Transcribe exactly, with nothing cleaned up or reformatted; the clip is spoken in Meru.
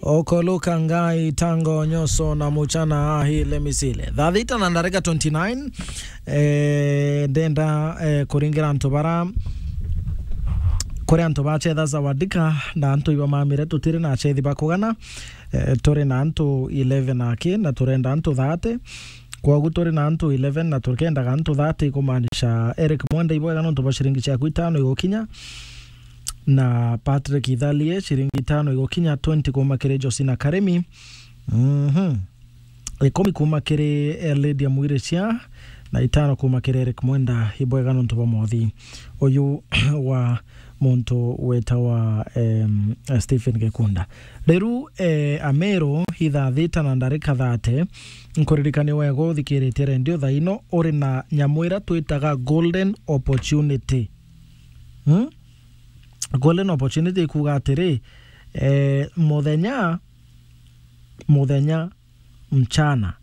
Okoluka ngai tango nyoso na muchana ahi lemisile. Thaa thita na ndarika twenty-nine. Eh, ndenda, eh, kuringira antu bara, kuri antu bachetha Zawadika na antu iba mamire tutiri na achethi bakugana. Eh, turi na antu eleven aki na turenda antu thirty. Kwogu turi na antu eleven na tukendaga antu thirty, kumaanisha Eric Mwenda ibwega nontu bwa ciringi ciaku itano igukinya, na Patrick Ithalie ciringi itano igukinya, twenty kuma kiri Josina Karemi, mhm, ikumi kuma kiri, eh, Lydia Mwiricia, na itano kuma kiri Eric Mwenda ibwega nontu bwa mothi uyu wa muntu wetawa, em, Stephen Gekunda. Riu, eh, Ameru ithaa thita na ndarika thirty, nkuririkania wega uthikiritie rendio thaa ino, uri na nyamu ira twitaga golden opportunity. Hmm? Golden opportunity ikuuga atiri, eh, muthenya, muthenya, mchana,